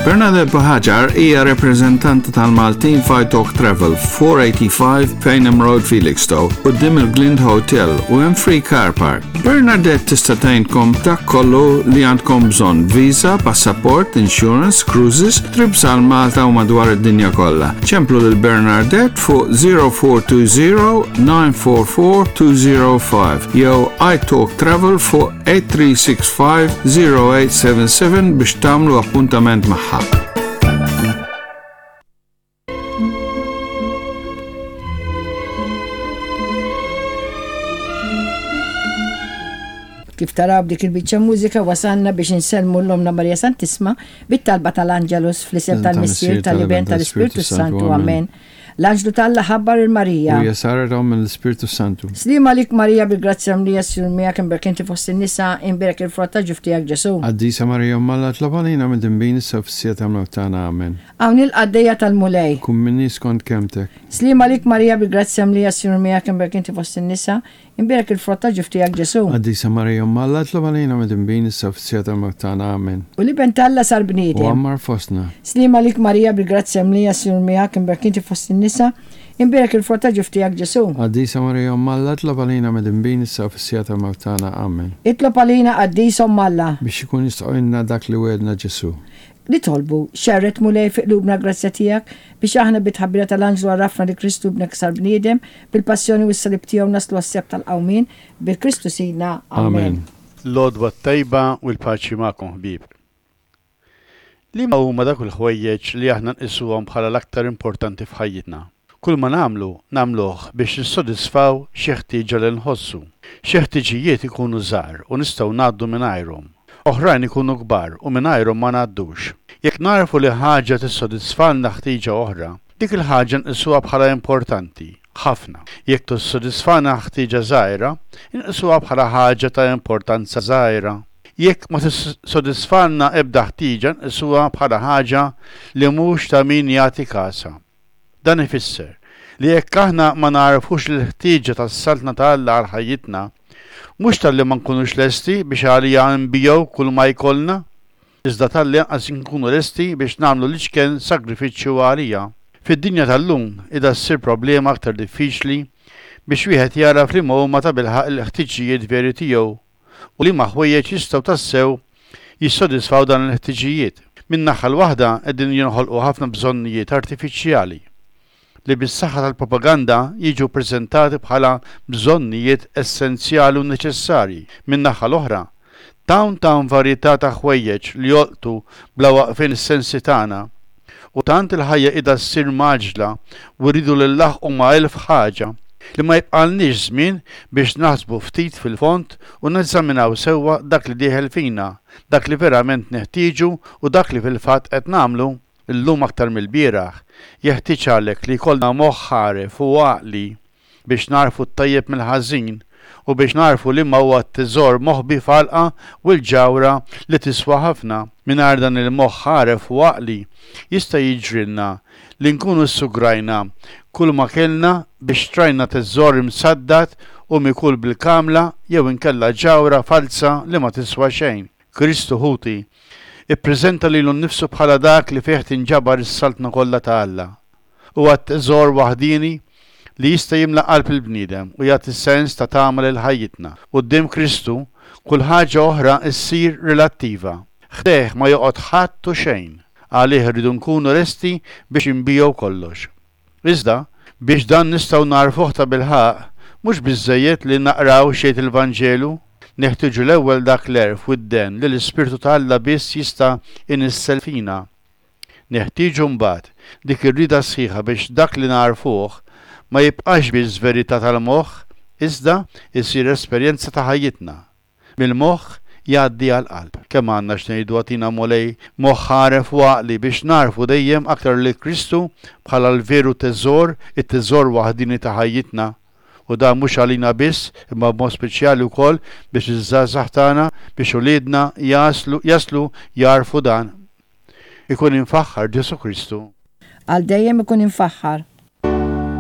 Bernadette Buhagiar hija rappreżentanta tal-Maltin f'Italk Travel, 485 Payneham Road, Felixstowe, quddiem il-Glind Hotel u hemm free car park. Bernadette tista' tgħinkom dak kollu li għandkom bżonn, visa, passaport, insurance, cruises, trips għal Malta u madwar id-dinja kollha. Ċemplu lil Bernadette fuq 0420 944 205 jew iTalk Travel fuq 8365 0877 biex tagħmlu appuntament magħha. Kif taraw b'dik il-biċċa mużika wasalna biex insellmu l-Omna Marija Santisma bit-talba tal-Angelus fl-isem tal-Missier, tal-Iben, tal-Ispirtu Santu. Amen. L-anġlu t'Alla ħabbar 'il Marija. U hija saret omm mill-Ispirtu Santu. Sliem għalik Marija bil-grazzja mlija s-Sinjur miegħek imbierek inti fost in-nisa, imbierek il-frott ta' ġuf tiegħek Ġesù. Qaddisa Marija Omm Alla itlob għalina midinbin issa u fis-siegħa tal-mewt tagħna. Amen. Hawn hi l-qaddejja tal-Mulej. Kun minni skont kelmtek. Sliem għalik Marija bil-grazzja mlija s-Sinjur miegħek imbierek inti fost in-nisa, Imbierek il-frott ta' ġuf tiegħek Ġesù. Qaddisa Marija Omm Alla itlob għalina midinbin issa u fis-siegħa tal-mewt tagħna. Amen. U l-Iben t'Alla sar bniedem. U għammar fostna. Sliem għalik Marija bil-grazzja mlija s-Sinjur miegħek imbierek inti fost in-nisa, imbierek il-frott ta' ġuf tiegħek Ġesù. Qaddisa Marija Omm Alla itlob għalina midinbin issa u fis-siegħa tal-mewt tagħna. Amen. Itlob għalina Qaddisa Omm Alla. Biex ikun jistħoqilna dak li wegħedna Ġesù. Nitolbu, xerred Mulej fi qlubna l-grazzja tiegħek, biex aħna bit-tħabbira tal-anġlu għarrafna li Kristu Ibnek sar bniedem, bil-passjoni u s-salib tiegħu naslu għas-sebħ tal-qawmien, bi Kristu Sidna. Amen. L-għodwa t-tajba u l-paċi magħkom ħbieb. Liema huma dawk il-ħwejjeġ li aħna nqisuhom bħala l-aktar importanti f'ħajjitna? Kull ma nagħmlu, nagħmluh biex nissodisfaw xi ħtieġa li nħossu. Xi ħtiġijiet ikunu żgħar u nistgħu ngħaddu mingħajrhom. Oħrajn ikunu kbar u mingħajrhom ma ngħaddux. Jekk nagħrfu li ħaġa tissodisfalna ħtieġa oħra, dik il-ħaġa nqisuha bħala importanti ħafna. Jekk tissodisfana ħtieġa żgħira, inqisuha bħala ħaġa ta' importanza żgħira. Jekk ma tissodisfalna ebda ħtieġa nqisuha bħala ħaġa li mhux ta' min jagħti kasha. Dan ifisser li jekk aħna ma nagħrfux l-ħtieġa tas-Saltna ta' Alla għal ħajjitna, mhux talli ma nkunux lesti biex għaliha nbigħu kull ma jkollna, iżda talli anqas inkunu lesti biex nagħmlu l-iċken sagrifiċċju għaliha. Fid-dinja tal-lum qiegħda ssir problema aktar diffiċli biex wieħed jagħraf liema huma tabilħaqq il-ħtiġijiet veri tiegħu u liema ħwejjeġ jistgħu tassew jissodisfaw dan il-ħtiġijiet. Min-naħa l-waħda qegħdin jinħolqu ħafna bżonnijiet artifiċjali li bis-saħħa tal-propaganda jiġu ppreżentati bħala bżonnijiet essenzjali u neċessarji. Min-naħa l-oħra, tant hawn varjetà ta' ħwejjeġ li jolqtu bla waqfien is-sensi tagħna u tant il-ħajja qiegħda ssir mgħaġġla u rridu li nlaħħqu ma' elf ħaġa, li ma jibqgħalniex żmien biex naħsbu ftit fil-fond u neżaminaw sewwa dak li dieħel fina, dak li verament neħtieġu u dak li fil-fatt qed nagħmlu. Illum aktar mill-bieraħ, jeħtieġ għalhekk li jkollna moħħ għaref u għaqli biex nagħrfu t-tajjeb mill-ħażin u biex nagħrfu liema huwa t-teżor moħbi f'għalqa u l-ġawhra li tiswa ħafna. Mingħajr dan il-moħħ għaref u għaqli, jista' jiġrilna li nkunu ssugrajna kulma kellna biex xtrajna teżor imsaddad u mikul bil-kamla jew inkella ġawhra falza li ma tiswa xejn. Kristu, ħuti, ippreżenta lilu nnifsu bħala dak li fih tinġabar is-saltna kollha ta' Alla. Huwa t-teżor waħdieni li jista' jimla qalb il-bniedem u jagħti sens ta' tama lil ħajjitna. Quddiem Kristu, kull ħaġa oħra ssir relattiva. Ħdejh ma joqgħod ħadd u xejn. Għalih irridu nkunu lesti biex inbigħu kollox. Iżda, biex dan nistgħu nagħrfuh tabilħaqq, mhux biżżejjed li naqraw x'jgħid il-Vanġelu. Neħtieġu l-ewwel dak l-għerf u d-dehen li l-Ispirtu ta' Alla biss jista' inissel fina. Neħtieġu mbagħad dik ir-rieda sħiħa biex dak li nagħrfuh ma jibqax biss verità tal-moħħ iżda jsir esperjenza ta' ħajjitna. Mill-moħħ jgħaddi għall-qalb. Kemm għandna x'ngħidu agħtina Mulej moħħ għaref u għaqli biex nagħrfu dejjem aktar lil Kristu bħala l-veru teżor, it-teżor waħdieni ta' ħajjitna. U dan mhux għalina biss imma b'mod speċjali wkoll biex iż-żgħażagħ tagħna, biex uliedna jaslu jaslu jagħrfu dan. Ikun imfaħħar Ġesù Kristu. Għal dejjem ikun imfaħħar.